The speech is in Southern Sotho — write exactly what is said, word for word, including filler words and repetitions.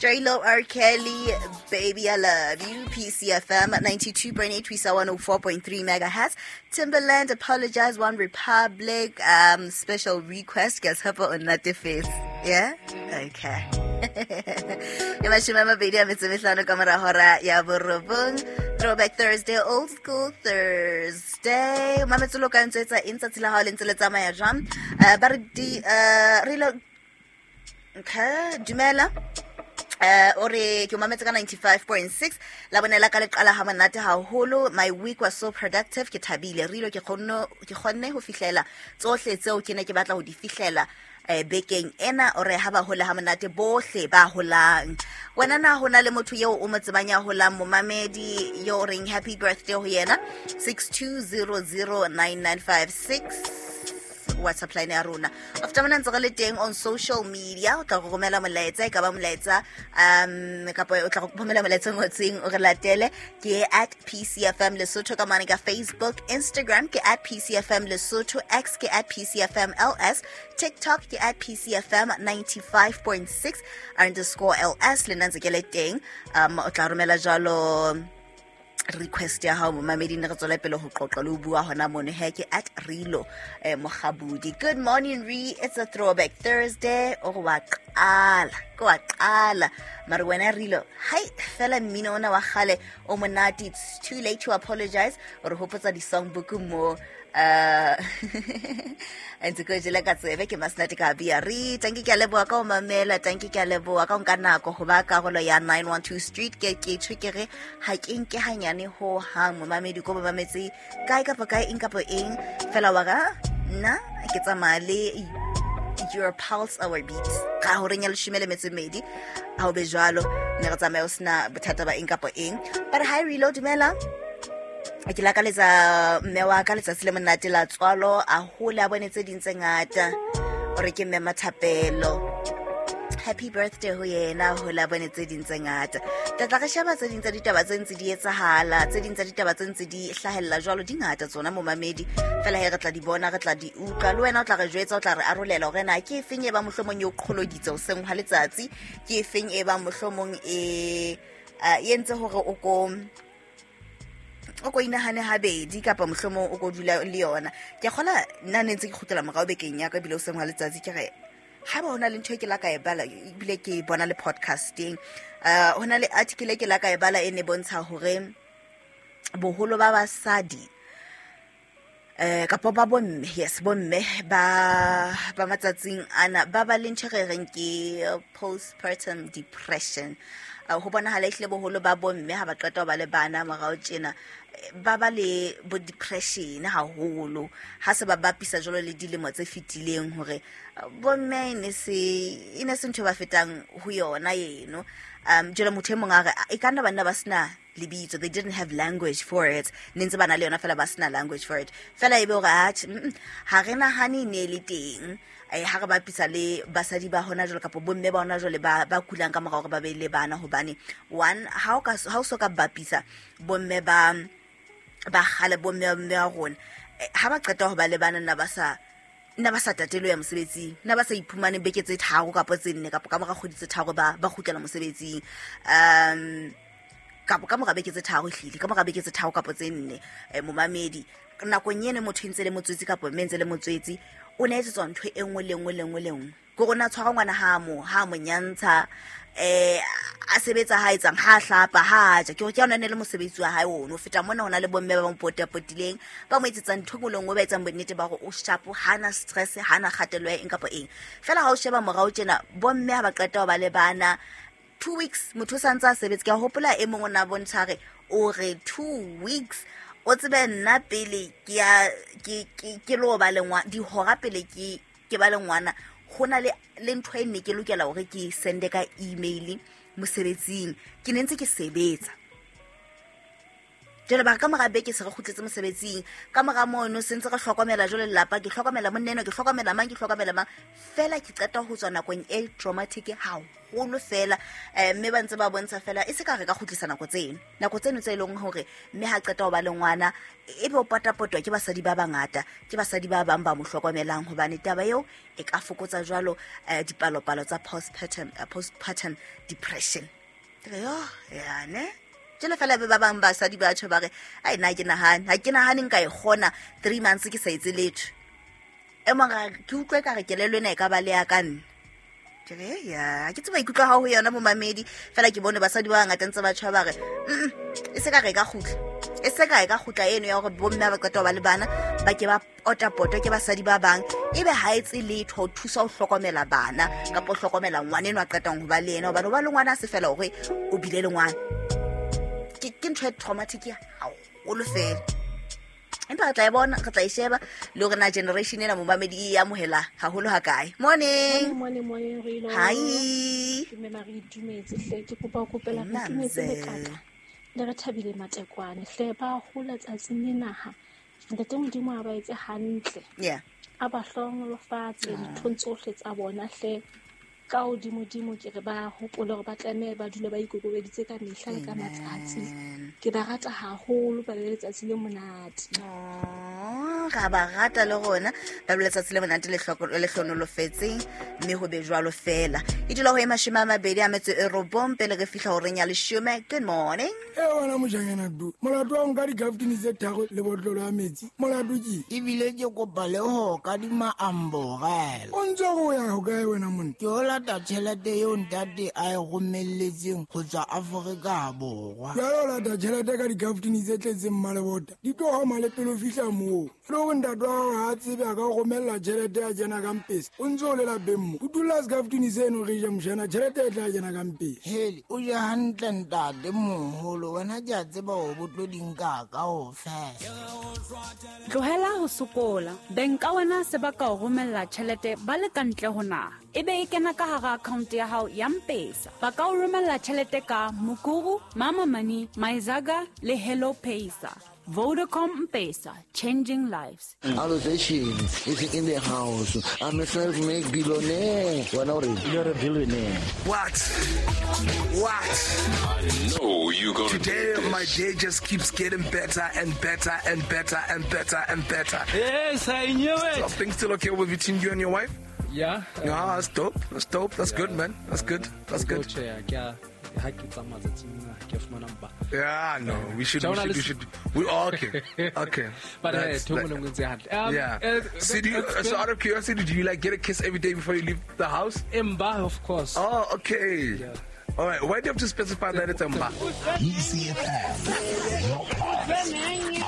J-Lo R. Kelly, Baby I Love You, P C F M ninety-two point eight, Twisa one oh four point three megahertz. Timbaland, Apologize, One Republic, um, special request, guess her on that face. Yeah? Okay. Throwback Thursday, Old School Thursday. Mametsolo ka ntse etsa eng tsatsi la hao le ntse le tsamaya jwang? Uh, ba re di, uh, re lo- Okay, dumela. Uh, ore ke mametse ka ninety-five point six la bonela ka leqala ha monate haholo. My week was so productive, ke thabile rilo ke kgonne ke kgonne ho fihlela tsohle tseo ke ne ke batla ho di fihlela eh, bekeng ena. Ore ha ba hola ha monate bohle ba holang. Wena na hona le motho eo o mo tsebang ya holang, momamedi yo o reng happy birthday ho yena? Six two zero zero nine nine five six WhatsApp line ya rona. After mona ntse re le teng on social media, o tla go romela molaetsa, e ka ba molaetsa, um, kapa o tla go romela molaetsa o ngotseng o re latele ke at P C F M Lesotho ka mane ka Facebook, Instagram ke at P C F M Lesotho, X ke at P C F M L S, TikTok ke at P C F M ninety-five point six underscore L S. Le nna ntse ke le teng, um, o tla romela jwalo request ya hao momamedi, ne re tswela pele ho qoqa le ho bua hona mono. He ke at Rilo, eh, Mokgabudi. Good morning Re, it's a throwback Thursday. O re wa qala, ke wa qala. Mare wena Rilo, hai fela mmino ona wa kgale o monate, it's too late to apologize. O re hopotsa di-songbook mo. Uh, ntse ke jele ka tsebe ke Masenate ka bia re tanki ke a leboha ka ho mamela, tanki ke a leboha ka ho nka nako ho ba karolo ya nine one two Street. Ke ke tjho ke re ha ke nke hanyane ho hang momamedi ko mametse kae kapa kae eng kapa eng fela wa ka nna ke tsamaya le your pulse our beats ka horeng ya leshome le metso e mmedi ha o be jwalo ne re tsamaya o sena bothata ba eng kapa eng. But hi Rilo, dumela. Ke lakaletsa mme wa ka letsatsi le monate la tswalo, a hole a bone tse ding tse ngata. O re ke mme Mathapelo. Happy birthday ho yena, hole a bone tse ding tse ngata. Tla tla re sheba tse ding tsa ditaba tse ntse di etsahala, tse ding tsa ditaba tse ntse di hlahella jwalo, di ngata tsona momamedi. Fela he re tla di bona, re tla di utlwa. Le wena o tla re jwetsa, o tla re arolela hore na ke efeng e ba mohlomong e o qholoditse hoseng hwa letsatsi, ke efeng e ba mohlomong e, eh, e entse hore o ko o ko inahane habedi kapa mohlomong o ko dula le yona. Ke a kgola nna ne ntse ke kgutlela morao bekeng ya ka ebile hoseng hwa letsatsi ke re ha ba hona le ntho e ke la ka e bala ebile ke e bona le podcasting. Uh, hona le article e ke la ka e bala e ne bontsha hore boholo ba basadi, eh, kapa ba bomme, yes, bomme ba, ba matsatsing ana ba ba le ntho e re reng ke postpartum depression. Uh, ho bonahala ehlile boholo ba bomme ha ba qeta ho ba le bana morao tjena, ba ba le bo depression haholo ha se ba bapisa jwalo le dilemo tse fetileng hore bomme e ne se, e ne se ntho e ba fetang ho yona eno. Um, jwale motho e mong a re, e ka nna banna ba sena lebitso, they didn't have language for it, ne ntse ba na le yona fela ba sena language for it. Fela e be hore, atjhe, mm, mm, ha re nahane e ne le teng. Eh, ha re bapisa le basadi ba hona jwale kapa bomme ba hona jwale ba, ba kulang ka mora hore ba be le bana, hobane one, ha o ka, ha o so ka bapisa bomme ba, ba kgale, bomme ba mme wa rona, eh, ha ba qeta ho ba le bana, nna ba sa, nna ba sa tatelo ya mosebetsing, nna ba sa iphumane beke tse tharo kapa tse nne kapa ka mora kgwedi tse tharo ba, ba kgutlela mosebetsing. Um, kapa ka mora beke tse tharo ehlile, ka mora beke tse tharo kapa tse nne, eh, momamedi, nakong eno motho e ntse le motswetsi kapa mme ntse le motswetsi, o ne etsetswa ntho e nngwe le nngwe le nngwe le nngwe. Ke hore o ne a tshwara ngwana ha mo, ha mo nyantsha, eh, a sebetsa ha etsang, ha hlapa, ha ja. Ke hore ke yona e ne le mosebetsi wa hae ono. Ho feta mona ho na le bomme ba mo potapotileng, ba mo etsetsang ntho e nngwe le nngwe, ba etsang bonnete ba hore o sharp, ha na stress, ha na kgatello ya eng kapa eng. Fela ha o sheba morao tjena, bomme ha ba qeta ho ba le bana, two weeks motho o sa ntse a sebetsa. Ke a hopola e mong o ne a bontsha hore o re two weeks o tsebe nna pele ke ya, ke, ke, ke lo ba le ngwana, dihora pele ke, ke ba le ngwana, ho na le, le ntho e ne ke lokela hore ke sende ka email mosebetsing. Ke ne ntse ke sebetsa. Jwale ba ka mora beke se re kgutletse mosebetsing, ka mora mono se ntse re hlokomela jwale lelapa, ke hlokomela monna ke hlokomela mang, ke hlokomela mang. Fela ke qeta ho tswa nakong e traumatic haholo fela. Eh mme ba ntse ba bontsha fela e se ka re ka kgutlisa nako tseno. Nako tseno tse leng hore mme ha qeta ho ba le ngwana e be o patapotwa ke basadi ba bangata, ke basadi ba bang ba mo hlokomelang, hobane taba eo e ka fokotsa jwalo eh, dipalopalo tsa postpartum uh, postpartum depression. Yo, ya ne jele fela be ba bang basadi ba tjho ba re ai nna ke nahane ha ke nahane nka e kgona three months ke sa etse letho. E mong ke utlwe ka re kelello ena e ka ba le ya ka nna. Ke re ya ke tseba ikutlwa ha ho yona momamedi fela ke bone basadi ba bangata ntse ba tjho ba re mm e se ka re ka kgutla, e se ka e ka kgutla eno ya hore bomme ba qeta ho ba le bana ba ke ba otapotwa ke basadi ba bang, ebe ha etse letho ho thusa ho hlokomela bana kapa ho hlokomela ngwana eno a qetang ho ba le yena, hobane ho ba le ngwana a se fela hore o bile le ngwana. Ke ke ntho e traumatic haholo fela. Empa re tla e bona, re tla e sheba le hore na generation ena momamedi e amohela haholo hakae. Morning. Morning, morning, Rilo. Hi. Ke mema re itumetse hle, ke kopa ho kopela re itumetse le kaka. Le re thabile matekwane hle, ba hola tsatsing le naha. Ntate Modimo a ba etse hantle. Yeah. A ba hlohonolofatse dinthong tsohle tsa bona hle. Ka hodimodimo ke re ba hopole hore ba tlameha ba dule ba ikokobeditse ka mehla le ka matsatsi. Ke ba rata haholo, ba le letsatsi le monate. Oh, ra ba rata le rona, ba le letsatsi le monate le le hlonolofetseng, mme ho be jwalo fela. E dula ho e mashome a mabedi a metso e robong pele re fihla horeng ya leshome. Good morning. E wena mojanyana du, molato wa nka dikaftini tse tharo le botlolo ya metsi, molato ke ebile ke kopa le ho kadima amborela. O ntse o ya ho kae wena monna? Ke o lata tjhelete eo ntate a e romelletseng ho tswa Afrika Borwa. Jwale o lata tjhelete ka dikaftini tse tletseng mmalebota, di tlo hama le pele o fihla moo. Le hore ntate wa hao ha a tsebe a ka o romella tjhelete ya kena ka mpesa, o ntse o le lapeng mo. O dula sekaftini seno re ja mojana, tjhelete e tla kena ka mpesa. Hele, o je hantle ntate moholo, wena ke a tseba hore bo tlo di nka kaofela. Tlohela ho sokola. Beng ka wena se ba ka o romella tjhelete ba le ka ntle ho naha, ebe e kena ka hara account ya hao ya M-Pesa. Ba ka o romella tjhelete ka Mukuru, Mama Money, Myzaga le Hello Pesa. Vodacom M-Pesa, changing lives. Allocation is in the house. I'm a self-made billionaire. You're a billionaire. What? What? I know you gonna Today, my day just keeps getting better and better and better and better and better. Yes, I knew it. So, things still okay with between you and your wife? Yeah. Um, yeah, that's dope. That's dope. That's yeah, good, man. That's good. That's good. Yeah, no, we should, we should, we should, we all okay, okay. But uh, um, yeah. Uh, so, do you, so out of curiosity, do you like get a kiss every day before you leave the house? Mba, of course. Oh, okay. Yeah. All right. Why do you have to specify that it's Mba? E C F M.